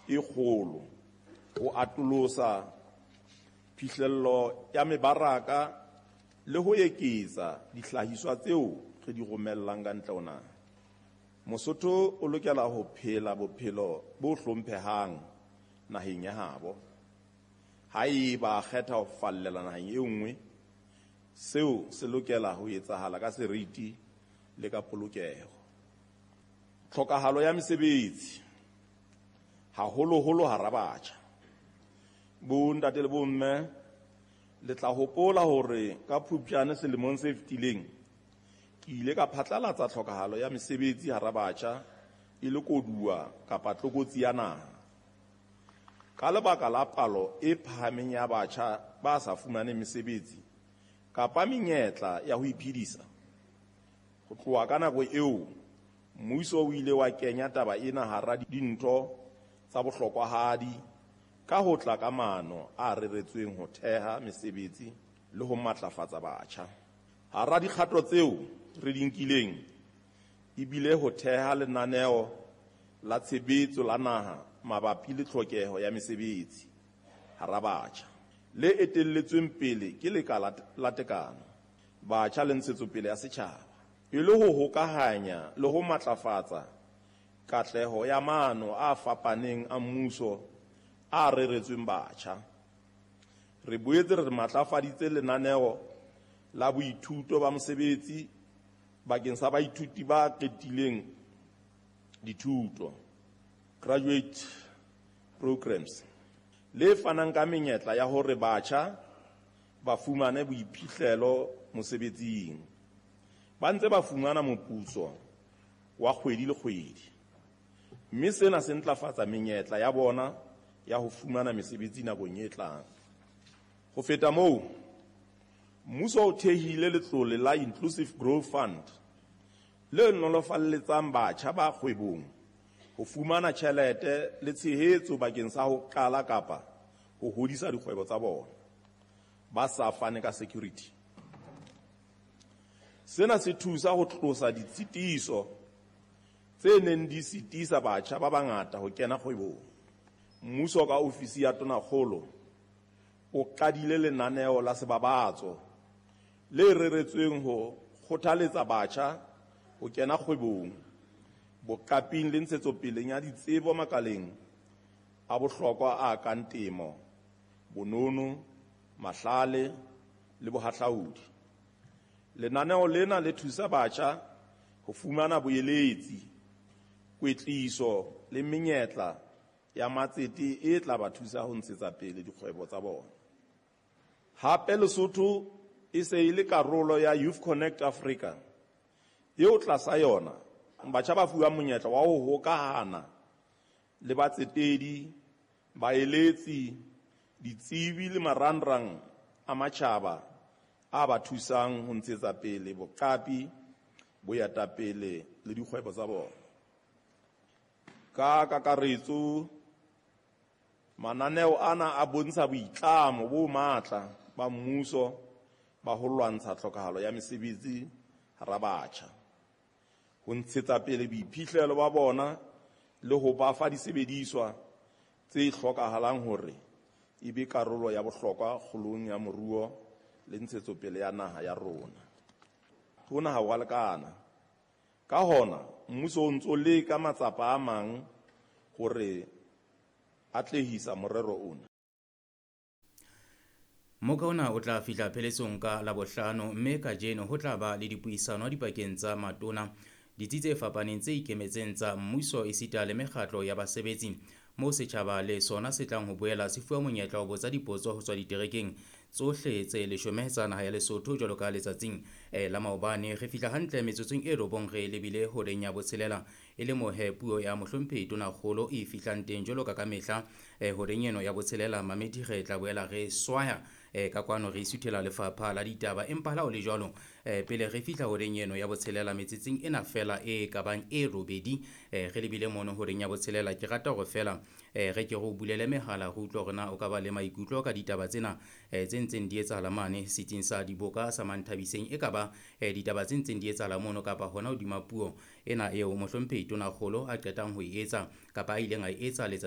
e kgolo ho atolosa phihlello ya mebaraka le ho eketsa dihlahiswa tseo re di romellang ka ntle ho naha. Mosotho o lokela ho phela bophelo bo hlomphehang naheng ya habo. Haeba a kgetha ho fallela naheng e nngwe, seo se lokela ho etsahala ka seriti le ka polokeho. Tlhokahalo ya mesebetsi, haholoholo hara batjha. Bontate le bomme, le tla hopola hore ka Phupjane selemong se fetileng, ke ile ka phatlalatsa tlhokahalo ya mesebetsi hara batjha e le koduwa kapa tlokotsi ya naha. Ka lebaka la palo e phahameng ya batjha ba sa fumaneng mesebetsi kapa menyetla ya ho iphedisa, ho tloha ka nako eo, mmuso o ile wa kenya taba ena hara dintho tsa bohlokwahadi ka ho tla ka maano a reretsweng ho theha mesebetsi le ho matlafatsa batjha. Hara dikgato tseo re di nkileng e bile ho theha lenaneo la tshebetso la naha mabapi le tlhokeho ya mesebetsi hara batjha, le etelletsweng pele ke Lekala la Tekano, Batjha le Ntshetsopele ya Setjhaba, e le ho hokahanya le ho matlafatsa katleho ya maano a fapaneng a mmuso a reretsweng batjha. Re boetse re matlafaditse lenaneo la boithuto ba mosebetsi bakeng sa baithuti ba qetileng dithuto, graduate programs, le fanang ka menyetla ya hore batjha ba fumane boiphihlelo mosebetsing, ba ntse ba fumana moputso wa kgwedi le kgwedi, mme sena se ntlafatsa menyetla ya bona ya ho fumana mesebetsi nakong e tlang. Ho feta moo, mmuso o thehile letlole la Inclusive Growth Fund le nolofalletsang batjha ba kgwebong ho fumana tjhelete le tshehetso bakeng sa ho qala kapa ho hodisa dikgwebo tsa bona ba sa fane ka security. Sena se thusa ho tlosa ditshitiso tse neng di sitisa batjha ba bangata ho kena kgwebong. Mmuso ka ofisi ya Tonakgolo o qadile lenaneo la sebabatso le reretsweng ho kgothaletsa batjha ho kena kgwebong, boqaping le ntshetsopeleng ya ditsebo makaleng a bohlokwa a kang temo, bonono, mahlale le bohahlaudi. Lenaneo lena le thusa batjha ho fumana boeletsi, kwetliso le menyetla ya matsete e tla ba thusa ho ntshetsa pele dikgwebo tsa bona. Hape Lesotho e se e le karolo ya Youth Connect Africa, eo tlasa yona batjha ba fuwang monyetla wa ho hokahana le batsetedi, baeletsi, ditsebi le marangrang a matjhaba a ba thusang ho ntshetsa pele boqapi, boetapele le dikgwebo tsa bona. Ka kakaretso, mananeo ana a bontsha boitlamo bo matla ba mmuso ba ho lwantsha tlhokahalo ya mesebetsi hara batjha, ho ntshetsa pele boiphihlelo ba bona le ho ba fa disebediswa tse hlokahalang hore e be karolo ya bohlokwa kgolong ya moruo le ntshetsopele ya naha ya rona. Hona ha ho a lekana. Ka hona, mmuso o ntso leka matsapa a mang hore atlehisa morero ona. Moka ona o tla fihla pheletsong ka Labohlano, mme kajeno ho tla ba le dipuisano dipakeng tsa matona, ditsi tse fapaneng tse ikemetseng tsa mmuso esita le mekgatlo ya basebetsi, moo setjhaba le sona se tlang ho boela se fuwa monyetla ho botsa dipotso ho tswa diterekeng tsohle tse 10 tsa naha ya Lesotho jwalo ka letsatsing la maobane. Re fihla hantle metsotsong e 9 re lebile horeng ya 6 e le mohe puo ya mohlomphehi Tonakgolo e fihlang teng jwalo ka kamehla horeng eno ya 6. Mamedi re tla boela re swaya ka kwano re isuthela lefapha la ditaba, empa ha o le jwalo pele re fihla horeng eno ya 6 metsotsong ena fela e kabang e 8 re lebile mono horeng ya 6. Ke rata hore fela re ke re o bulele mehala re utlwe hore na o ka ba le maikutlo ka ditaba tsena tse ntseng di etsahala mane setsing sa diboka sa Manthabiseng, e ka ba ditaba tse ntseng di etsahala mono kapa hona hodima puo ena eo mohlomphehi Tonakgolo a qetang ho e etsa kapa a ileng a e etsa letsatsi